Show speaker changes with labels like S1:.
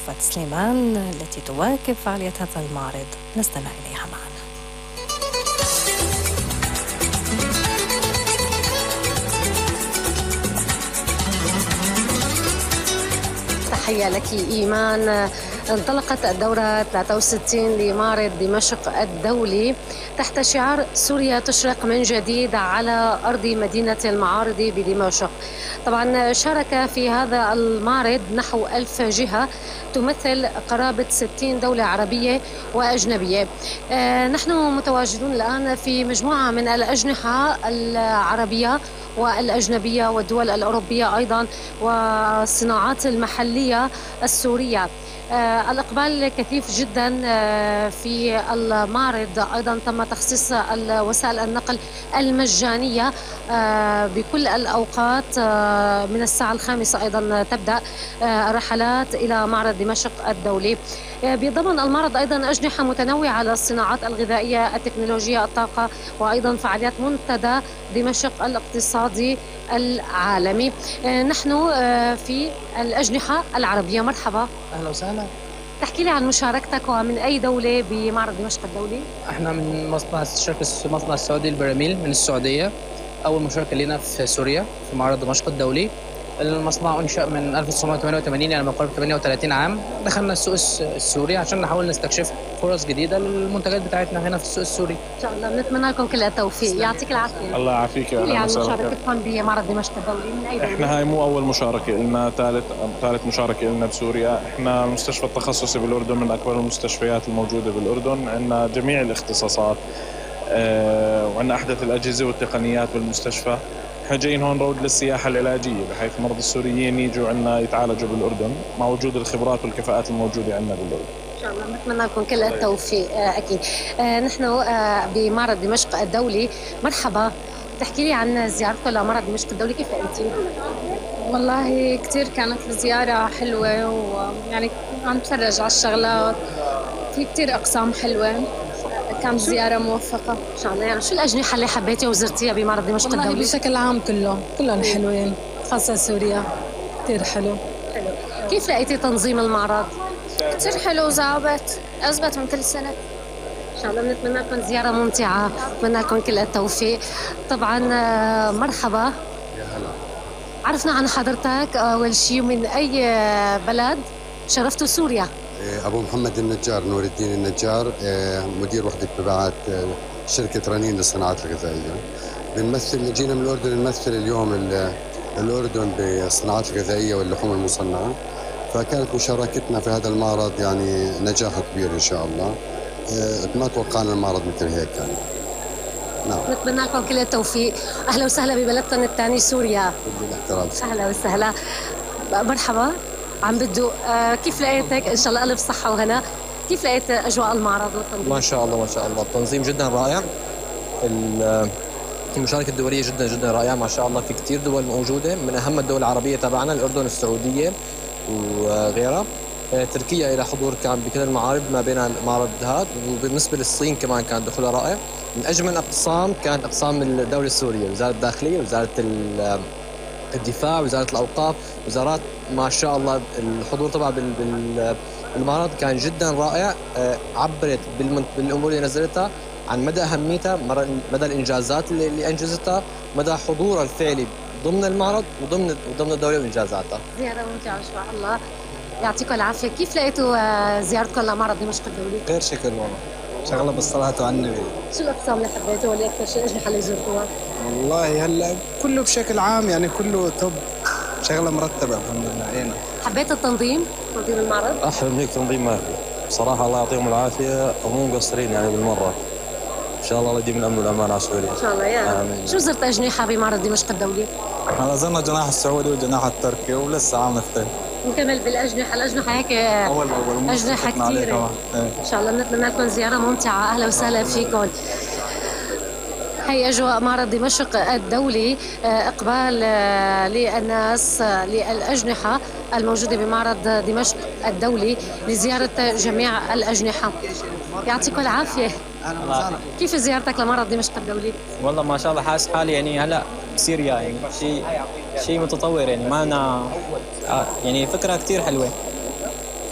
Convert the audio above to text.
S1: رأفت سليمان التي تواكب فعالية هذا المعرض، نستمع إليها معنا.
S2: تحية لك إيمان. انطلقت الدورة 63 لمعرض دمشق الدولي تحت شعار سوريا تشرق من جديد على أرض مدينة المعارض بدمشق. طبعا شارك في هذا المعرض نحو 1000 جهة تمثل قرابة 60 دولة عربية وأجنبية. نحن متواجدون الآن في مجموعة من الأجنحة العربية والأجنبية والدول الأوروبية أيضا والصناعات المحلية السورية. الإقبال كثيف جدا في المعرض. أيضا تم تخصيص وسائل النقل المجانية بكل الأوقات. من الساعة 5 أيضا تبدأ الرحلات إلى معرض دمشق الدولي. بيتضمن المعرض أيضا أجنحة متنوعة للصناعات الغذائية، التكنولوجيا، الطاقة، وأيضا فعاليات منتدى دمشق الاقتصادي العالمي. نحن في الأجنحة العربية. مرحبا.
S3: أهلا وسهلا.
S2: تحكي لي عن مشاركتك ومن أي دولة بمعرض دمشق الدولي؟
S3: احنا من مصنع السعودي البراميل من السعودية. أول مشاركة لنا في سوريا في معرض دمشق الدولي. المصنع أنشأ من 1988 يعني من قرابة 38 عام. دخلنا السوق السوري عشان نحاول نستكشف فرص جديدة للمنتجات بتاعتنا هنا في السوق السوري.
S2: إن شاء الله. بنتمنى لكم كل التوفيق. يعطيك العافية.
S4: الله يعافيك.
S2: احكي لي عن مشاركتكم بمعرض دمشق الدولي. من أي دولة؟
S4: احنا هاي مو أول مشاركة لنا، ثالث مشاركة لنا بسوريا. احنا المستشفى التخصصي بالأردن من أكبر المستشفيات الموجودة بالأردن. عندنا جميع الاختصاصات وعندنا أحدث الأجهزة والتقنيات بالمستشفى. احنا جايين هون روض للسياحة العلاجية بحيث مرضى السوريين يجوا عنا يتعالجوا بالأردن مع وجود الخبرات والكفاءات الموجودة عندنا بالأردن.
S2: إن شاء الله. نتمنى لكم كل التوفيق. أكيد. نحن بمعرض دمشق الدولي. مرحبا. تحكي لي عن زيارتكم لمعرض دمشق الدولي، كيف لقيتيه؟
S5: والله كتير كانت الزيارة حلوة، ويعني عم نتفرج على الشغلات، في كتير أقسام حلوة. كانت زيارة موفقة
S2: إن شاء الله. يعني شو الأجنحة اللي حبيتي وزرتيها بمعرض دمشق الدولي؟
S5: والله بشكل عام كلهم حلوين، خاصة سوريا كتير حلو.
S2: كيف لقيتي تنظيم المعرض؟
S5: كتير حلو أزبط من كل سنة.
S2: إن شاء الله. بنتمنى لكم زيارة ممتعة، بنتمنى لكم كل التوفيق. طبعا مرحبا.
S6: يا هلا.
S2: عرفنا عن حضرتك أول شيء من أي بلد؟ شرفتوا سوريا.
S6: أبو محمد النجار، نور الدين النجار، مدير وحدة مبيعات شركة رنين للصناعات الغذائية. جينا من الأردن نمثل اليوم الأردن بالصناعات الغذائية واللحوم المصنعة. فكانت مشاركتنا في هذا المعرض يعني نجاح كبير إن شاء الله. ما توقعنا المعرض مثل هيك يعني.
S2: نعم. نتمنى لكم كل التوفيق. أهلا وسهلا ببلدكم الثاني سوريا. أهلا وسهلا. مرحبا. عم بدو كيف لقيتك؟ إن شاء الله ألف صحة وهنا. كيف لقيت أجواء المعرض والتنظيم؟
S7: ما شاء الله التنظيم جدا رائع. المشاركة الدولية جدا جدا رائعة ما شاء الله. في كتير دول موجودة، من أهم الدول العربية تبعنا الأردن، السعودية وغيرها. تركيا إلى حضور كان بكل المعارض ما بين المعرض هذا. وبالنسبة للصين كمان كان دخولها رائع. من أجمل أقسام كانت أقسام الدولة السورية، وزارة الداخلية، وزارة الدفاع، وزارة الأوقاف، وزارات ما شاء الله. الحضور طبعا بالمعرض كان جدا رائع. عبرت بالأمور اللي نزلتها عن مدى أهميتها، مدى الإنجازات اللي أنجزتها، مدى حضورها الفعلي ضمن المعرض وضمن الدولة وإنجازاتها.
S2: زيارة ممتعة إن شاء الله. يعطيكم العافية. كيف لقيتوا زيارتكم لمعرض دمشق الدولي؟
S8: غير شكل والله، شغلة بالصلاة على النبي.
S2: شو الأقسام اللي حبيتوها واللي أكثر شيء أجنحة اللي زرتوها؟
S8: والله هلا كله بشكل عام يعني كله توب، شغلة مرتبة الحمد لله.
S2: حبيت تنظيم المعرض؟
S7: أحلى من هيك تنظيم ما في بصراحة. الله يعطيهم العافية ومو مقصرين يعني بالمرة. إن شاء الله يديم الأمن والأمان على سوريا.
S2: إن شاء الله. يا آمين. شو زرت أجنحة بمعرض دمشق الدولي؟
S8: احنا زرنا الجناح السعودي والجناح التركي ولسه عم نختار.
S2: نكمل بالأجنحة. الأجنحة هيك
S8: أول
S2: أجنحة كثير. إن شاء الله. بنتمنى لكم زيارة ممتعة. أهلا وسهلا فيكم. هي أجواء معرض دمشق الدولي. إقبال للناس للأجنحة الموجودة بمعرض دمشق الدولي لزيارة جميع الأجنحة. يعطيكم العافية. كيف زيارتك لمعرض دمشق الدولي؟
S9: والله ما شاء الله حاسس حالي يعني هلا بسوريا يعني شيء متطور يعني ما أنا يعني فكرة كتير حلوة.